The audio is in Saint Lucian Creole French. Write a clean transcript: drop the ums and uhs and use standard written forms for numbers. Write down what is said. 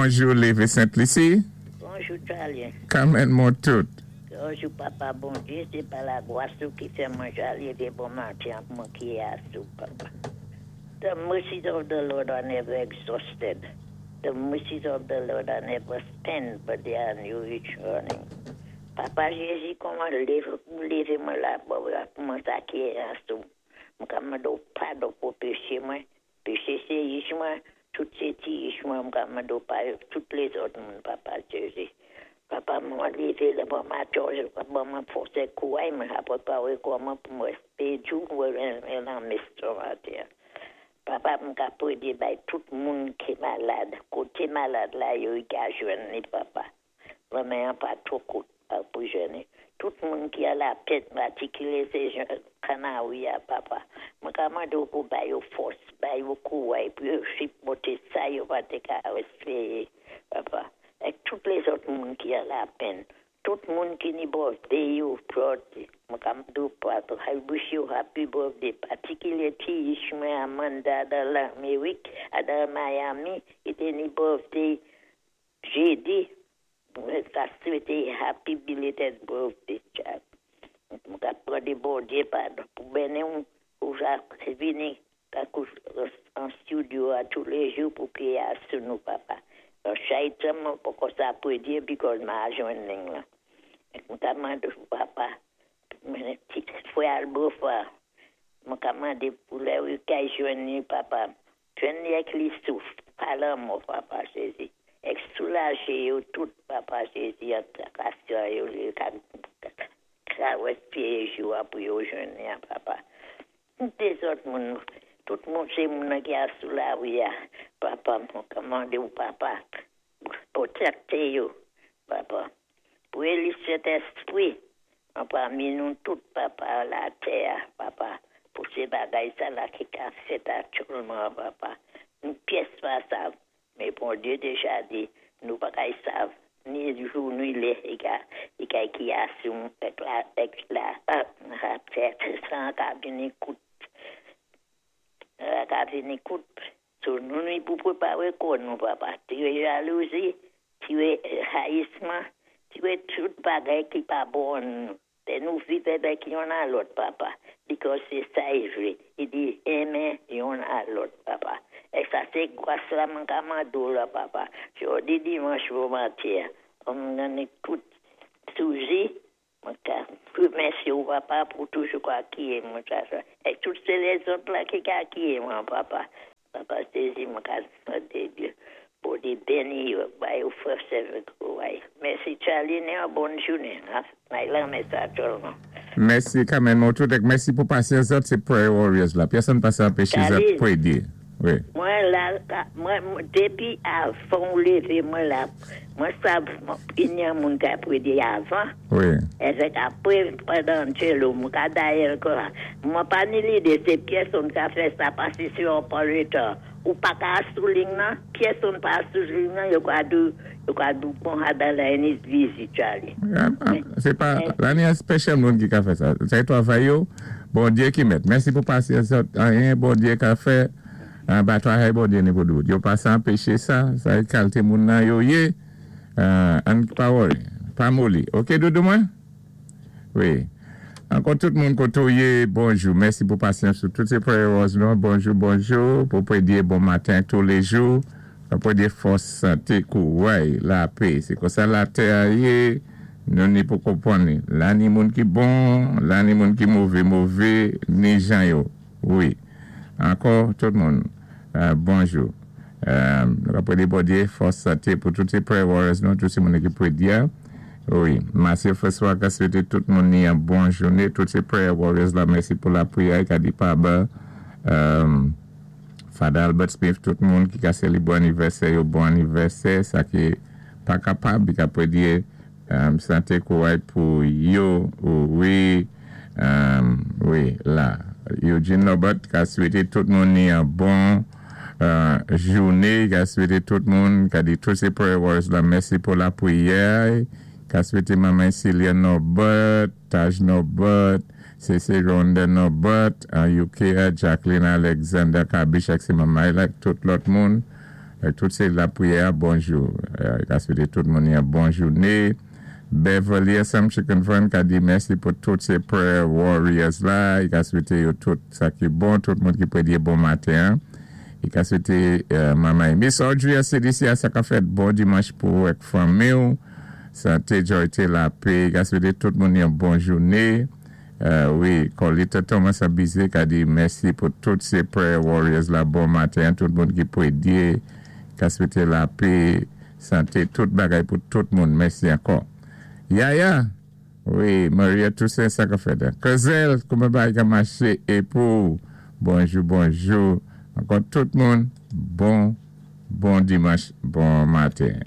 Bonjou Lévé Sent Lisi. Bonjou Charlie. Kamèn mwen tout. Bonjou papa Bondyé, sé pa lagwas ou ki fè mwen ja lévé bon maten ak mwen ki asou papa. The mercies of the Lord are never exhausted. The mercies of the Lord are never spent, but they are new each morning. Papa Jézi, kòman lévé pou lévé mwen la pou mwen sa ki asou. Mwen ka mandé padon pou péché mwen. Péché sé ich mwen, tout sé ti ich mwen, mwen ka mandé padon tout lézòt moun, papa Jézi. Papa mwen lévé lé bon maten, ban mwen fòs é kouray mwen apwé pawé kòman pou mwen pédi mwen nan mès maten. Papa mwen ka pwédé bay tout moun ki malad, koté malad la yo i ka jwenn ni papa. Lanmen an pa twò kout pou jwenn. Tout moun ki a lapèn, patikilé sé Kanari a papa. Mwen ka mandé ou pou bay yo fòs, bay yo kouray pou yo sipòté sa yo pa té ka réspéyé papa. Ek tout lézòt moun ki a lapèn, tout moun ki ni birthday yo birthday. Mwen ka mandé ou papa, I wish you happy birthday. Patikilé ti ich mwen Amanda dan Lamérik, dan Miami, i té ni birthday jédi. Mwen ka swété happy belated birthday, child. Mwen ka mandé Bondyé padon pou béni ou pou sa vini tankou an studio a tou léjou pou pwiyé sou nou papa. Chay tan mwen poko sa pwédyé because ma jwenn ling lan. Mwen ka mandé papa mwen ti fwè Albofa mwen ka mandé pou lè ou kay jwenn ni papa. Jwenn ni ek li souf, pa lanmò papa Jézi. Ek soulajé yo tout papa Jézi an kasyon yo li ka ka réspéyé jou a pou yo jwenn ni an papa. Dézòt moun, tout moun sé moun ki a sou lari a, papa mwen ka mandé ou papa, pwotékté yo, papa. Pou éli Sentèspwi, an pami nou tout papa latè a, papa, pou sé bagay sa la ki ka fèt aktyèlman papa. Nou pyès pa sav, men Bondyé déja di, nou pa kay sav, ni jou ni lè i ka i kay ki asou ek la ek la tèt san ka vini kout ka vini kout. So nou ni pou pwéparé kò nou papa. Tiré jalouzi, tiré rayisman, tiré tout bagay ki pa bon nou. Fè nou viv avèk youn a lòt papa. Because sé sa i vlé. I di enmen youn a lòt papa. É sa sé gwas la mwen ka mandé ou la papa. Jòdi dimanch bon maten, mwen ni tout souzi, mwen ka remèsyé ou papa pou toujou ka akiyé mwen sa sa. É tout sé lézòt la ki ka akiyé mwen papa. Papa Jézi mwen ka mandé Dye Bondyé béni yo, bay yo fòs avèk kouray. Mèsi Charlie, ni yon bòn jounen. May lanmen sa sèlman. Mèsi Carmen Montout ek mèsi pou pasyans zòt sé prayer warriors la. Pyèsonn pa sa anpéché zòt Charlie, pwédyé. Wi. mwen la, mwen dépi avan ou lévé mwen la, mwen sav ini an moun ka pwédyé avan, Wi. avèk apwé pandan Angelo, mwen ka dayè kwa. Mwen pa ni lidé sé pyèsonn ka fè sa pasé si on pran le tan. Ou pa ka sou ling nan, pyèsonn pa sou ling nan, yo ka di yo ka di bon the line is busy, Charlie. Sé pa la ni an special moun ki ka fè sa. Sé twavay yo, Bondyé ki mèt. Mèsi pou pasyans zòt. Anyen Bondyé ka fè, ba twavay Bondyé ni pou dout. Yo pa sa anpéché sa, sa é kalité moun nan yo yé. Ann pa worry, pa moli. Ok doudou mwen? Wi. Ankò tout moun koté ou yé, bonjou. Mèsi pou pasyans ou. Tout sé prayer warriors nou. Bonjou, bonjou. Pou pwédyé bon maten tou léjou. Pou pwédyé fòs, santé, kouray, lapé. Sé konsa latè a yé. Nou ni pou konpwann li. La ni moun ki bon, la ni moun ki mové mové, ni jan yo. Wi. Ankò tout moun, bonjou. Nou ka pwédyé Bondyé fòs, santé pou tout sé prayer warriors nou, tout sé moun ki pwédyé. Wi. Mathieu François ka swété tout moun ni yon bon jouné. Tout sé prayer warriors la mèsi pou lapriyè ka di pa Father Albert Smith tout moun ki ka sélébwé anivèsè yo bon anivèsè sa ki pa kapab i ka pwédyé santé kouray pou yo wi wi la Eugene Norbert ka swété tout moun ni yon bon jouné ka swété tout moun ka di tout sé prayer warriors la mèsi pou lapriyè ka swété manman Celia Norbert Taj Norbert Cece Ronda Norbert an UK a Jacqueline Alexander Kabish ak sé manman ak tout lòt moun. Tout sé lapriyè, bonjou. I ka swété tout moun yon bon jouné. Beverly Assumption Convent ka di mèsi pou tout sé prayer warriors la. I ka swété yo tout sa ki bon, tout moun ki pwédyé bon maten. I ka swété manman Miss Audrey a CDC a sa ka fèt bon dimanch pou ak fanmi. Santé, joyté, lapè. I ka swété tout moun yon bon jouné. Wi, Colita Thomas Abizé ka di mèsi pou tout sé prayer warriors la, bon maten, tout moun ki pwédyé, ka swété lapè, santé, tout bagay pou tout moun. Mèsi ankò. Yaya, wi, Maria Toussaint, sa ka fèt. Kezel, kouman bagay ka maché é pou bonjou, bonjou. Ankò tout moun, bon dimanch, bon maten.